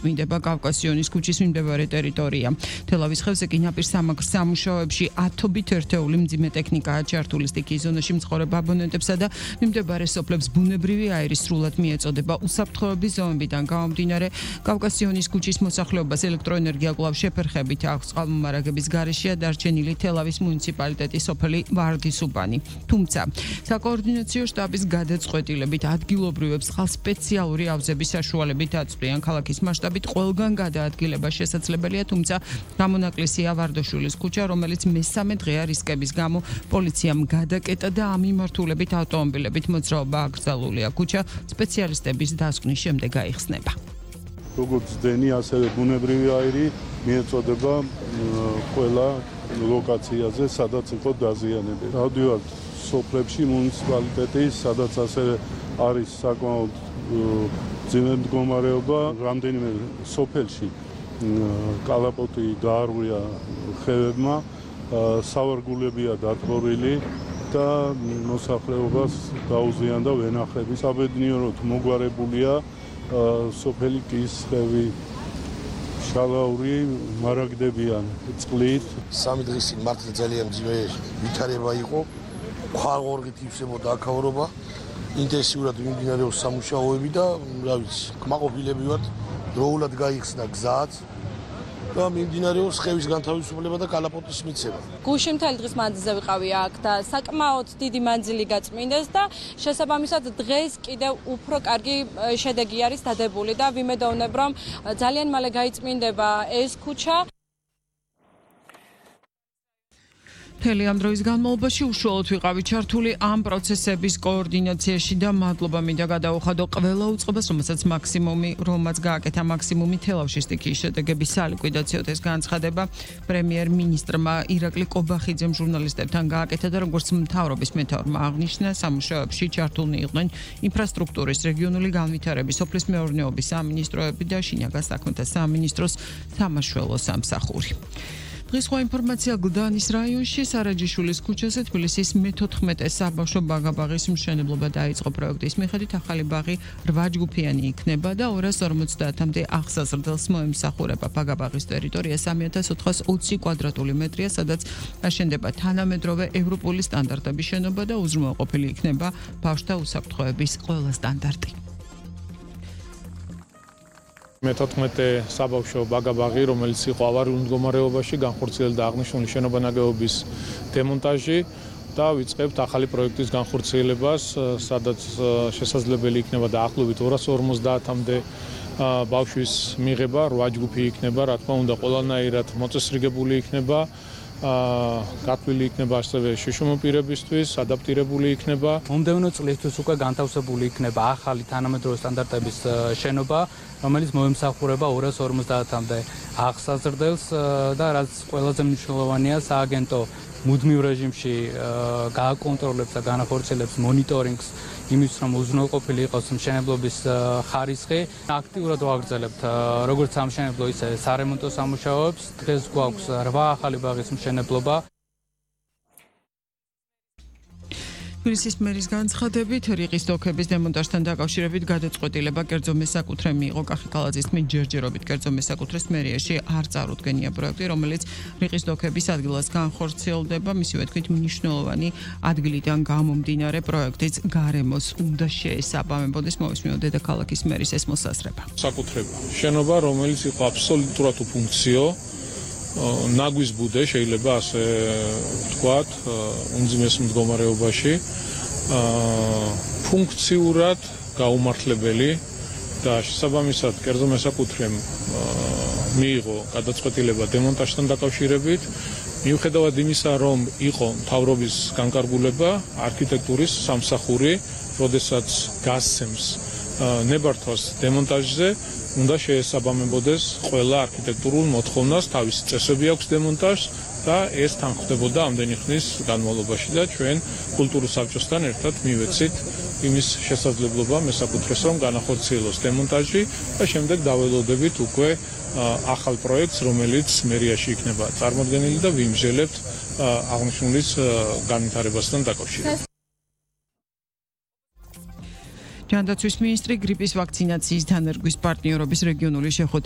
იწმინდება კავკასიონის ქუჩის მიმდებარე ტერიტორია. თელავის ხევზე კი ნაპირ სამუშაოებში ათობით ერთეული მძიმე ტექნიკაა ჩართული. სტიქიის ზონაში მცხოვრებ აბონენტებსა და მიმდებარე სოფლებს ბუნებრივი აირი სრულად მიეწოდება. უსაფრთხოების ზომებიდან გამომდინარე, კავკასიონის ქუჩის მოსახლეობას ელექტროენერგია კვლავ შეფერხებით აქვს. წყალმომარაგების გარეშეა დარჩენილი თელავის მუნიციპალიტეტის სოფელი ვარდისუბანი. თუმცა, საკოორდინაციო შტაბის გადაწყვეტილებით ადგილობრივებს ხალხ სპეციალური ავზების საშუალებით აწვდიან. ქალაქის მასშტაბით ყველგან გადაადგილება შესაძლებელია, თუმცა გამონაკლისია ვარდაშვილის ქუჩა, რომელიც მესამე დღეა რისკების გამო პოლიციამ გადაკეტა და ამ მიმართულებით ავტომობილებით მოძრაობა აკრძალულია. ქუჩა სპეციალისტების დასკვნის შემდეგ გაიხსნება. როგორც დენი, ასევე ბუნებრივი აირი მიეწოდება ყველა ლოკაციაზე, სადაც იყო დაზიანებული. დავდივართ სოფლებში მუნიციპალიტეტის, სადაც ასევე არის საკმაოდ მძიმე მდგომარეობა. რამდენიმე სოფელში კალაპოტი დაარღვია ხევებმა, სავარგულებია დატბორილი და მოსახლეობას დაუზიანდა ვენახები. საბედნიეროდ მოგვარებულია სოფელი კისხევი, შალაური მარაგდებიან წყლით. სამი დღის წინ მართლა ძალიან მძიმე ვითარება იყო. ქვალღორღით ივსებოდა აქაურობა. ინტენსიურად მიმდინარეობს სამუშაოები და რა ვიცი, კმაყოფილები ვართ, დროულად გაიხსნა გზაც და მიმდინარეობს ხევის განთავისუფლება და კალაპოტის მიცემა. გუში მთელი დღის მანძილზე ვიყავი აქ და საკმაოდ დიდი მანძილი გაწმინდეს და შესაბამისად დღეს კიდევ უფრო კარგი შედეგი არის დადებული და ვიმედოვნებ, რომ ძალიან მალე გაიწმინდება ეს ქუჩა. მთელი ამ დროის განმავლობაში უშუალოდ ვიყავი ჩართული ამ პროცესების კოორდინაციაში და მადლობა მინდა გადაუხადო ყველა უწყებას, რომაც გააკეთა მაქსიმუმი თელავში სტიქიის შედეგების სალიკვიდაციო ეს განცხადება პრემიერ-მინისტრმა ირაკლი კობახიძემ ჟურნალისტებთან გააკეთა და როგორც მთავრობის მეთაურმა აღნიშნა, სამუშაოებში ჩართულნი იყვნენ ინფრასტრუქტურის, რეგიონული განვითარების, სოფლის მეურნეობის სამინისტროები და შინაგან საქმეთა სამინისტროს სამაშველო სამსახური. დღის სხვა ინფორმაცია გლდანის რაიონში სარაჯიშვილის ქუჩაზე თბილისის მე-14 საბავშვო ბაღ-ბაღის მშენებლობა დაიწყო. პროექტის მიხედვით ახალი ბაღი 8 ჯგუფიანი იქნება და 250-მდე აღსაზრდელს მოემსახურება. ბაღ-ბაღის ტერიტორია 3420 კვადრატული მეტრია, სადაც აშენდება თანამედროვე ევროპული სტანდარტების შენობა და უზრუნველყოფილი იქნება ბავშვთა უსაფრთხოების ყველა სტანდარტი. მე-14 საბავშვო ბაღ-ბაღი, რომელიც იყო ავარიულ მდგომარეობაში, განხორციელდა აღნიშნული შენობა-ნაგებობის დემონტაჟი და ვიწყებთ ახალი პროექტის განხორციელებას, სადაც შესაძლებელი იქნება დაახლოებით 250-მდე ბავშვის მიღება, 8 ჯგუფი იქნება, რა თქმა უნდა, ყველანაირად მოწესრიგებული იქნება. გათვლილი იქნება ასევე შიშომო პირებისთვის, ადაპტირებული იქნება. მომდევნო წლისთვის უკვე განთავსებული იქნება ახალი თანამედროვე სტანდარტების შენობა, რომელიც მოემსახურება 250-მდე აღსაზრდელს და რაც ყველაზე მნიშვნელოვანია, სააგენტო მუდმივ რეჟიმში გააკონტროლებს და განახორციელებს მონიტორინგს იმის, რომ უზრუნველყოფილი იყოს მშენებლობის ხარისხი. აქტიურად ვაგრძელებთ როგორც სამშენებლო, ისე სარემონტო სამუშაოებს. დღეს გვაქვს 8 ახალი ბაღის მშენებლობა. თბილისის მერის განცხადებით, რიყის დოქების დემონტაჟთან დაკავშირებით გადაწყვეტილება კერძო მესაკუთრე მიიღო. კახი-კალაძის თქმით, ჯერჯერობით კერძო მესაკუთრეს მერიაში არ წარუდგენია პროექტი, რომელიც რიყის დოქების ადგილას განხორციელდება. მისივე თქმით, მნიშვნელოვანი ადგილიდან გამომდინარე პროექტის გარემოს უნდა შეესაბამებოდეს. მოვისმინოთ დედაქალაქის მერის ეს მოსაზრება. საკუთრება შენობა, რომელიც იყო აბსოლუტურად უფუნქციო, ნაგვის ბუდე შეიძლება ასე ვთქვათ, უმძიმეს მდგომარეობაში, ფუნქციურად გაუმართლებელი და შესაბამისად კერძო მესაკუთრემ მიიღო გადაწყვეტილება დემონტაჟთან დაკავშირებით. მიუხედავად იმისა, რომ იყო მთავრობის განკარგულება, არქიტექტურის სამსახური, როდესაც გასცემს ნებართვას დემონტაჟზე, უნდა შეესაბამებოდეს ყველა არქიტექტურულ მოთხოვნას, თავისი წესები აქვს დემონტაჟს და ეს თანხმდებოდა ამდენი ხნის განმავლობაში და ჩვენ კულტურულ საბჭოსთან ერთად მივეცით იმის შესაძლებლობა მესაკუთრეს, რომ განახორციელოს დემონტაჟი და შემდეგ დაველოდებით უკვე ახალ პროექტს, რომელიც მერიაში იქნება წარმოდგენილი და ვიმსჯელებთ აღნიშნულის განვითარებასთან დაკავშირებით. ჯანდაცვის მინისტრი გრიპის ვაქცინაციის დანერგვის პარტნიორობის რეგიონული შეხვედრის